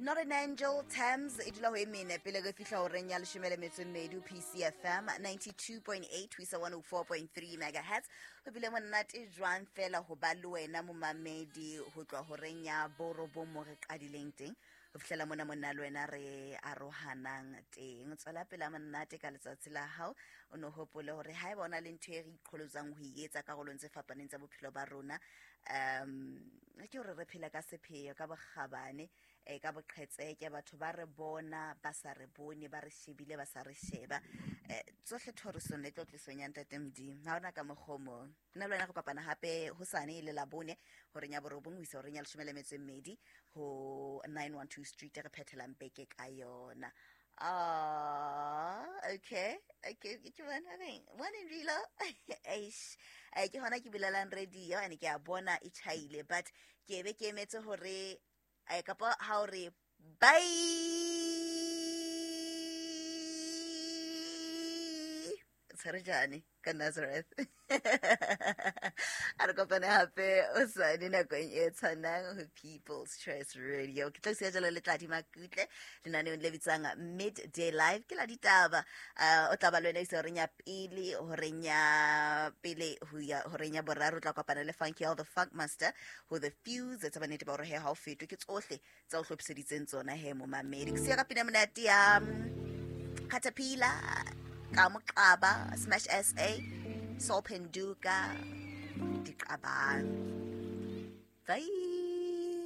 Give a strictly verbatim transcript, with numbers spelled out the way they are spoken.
Not an Angel Thames e dula ho e mene pele re fihla horeng ya leshome le metso e mmedi ho P C F M ninety-two point eight ho isa one oh four point three megahertz. Ho bile monate jwang fela ho ba le wena momamedi ho tloha horeng ya borobong mo re qadileng teng ho fihlela mona monna le wena re arohanang teng. Tswela pele monate ka letsatsi la hao, o no hopole hore haeba o na le ntho e re iqholotsang ho e etsa karolong tse fapaneng tsa bophelo ba rona, um ke hore re phela ka sepheo, ka bokgabane, eh, ka boqhetseke, batho ba re bona ba sa re bone, ba re shebile ba sa re sheba. Eh, tsohle thorisong le tlotlisong ya Ntate Modimo, ha hona ka mokgwa o mong. Nna le wena re kopana hape hosane e le Labone horeng ya borobong ho isa horeng ya leshome le metso e mmedi ho nine one two Street, re phethelang beke ka yona. Ah, okay. Okay, ke bona reng? Morning, Rilo. Eish. Eh, ke hona ke bulelang radio ane ke a bona e tjhaile, but ke be ke emetse hore eh, kapa ha o re bye. Tshwarejane ka Nazareth. A re kopane hape o sane nakong e tshwanang ho People's Choice Radio. Ke tla siya jalo le Tladi Makutle lenaneong le bitswang Midday Live, ke la ditaba. Uh, o tla ba le wena isa horeng ya pele, horeng ya pele ho ya horeng ya boraro, o tla kopana le Funky All the Funk Master ho The Fuse. Tsa bannete ba hore he ha o fetwe ke tsohle tsa o hlophiseditseng tsona he momamedi. Ke siya ka pina monate ya Caterpillar, ka Moqaba, Smash S A, Sol Phenduka, Diqabang. Bye.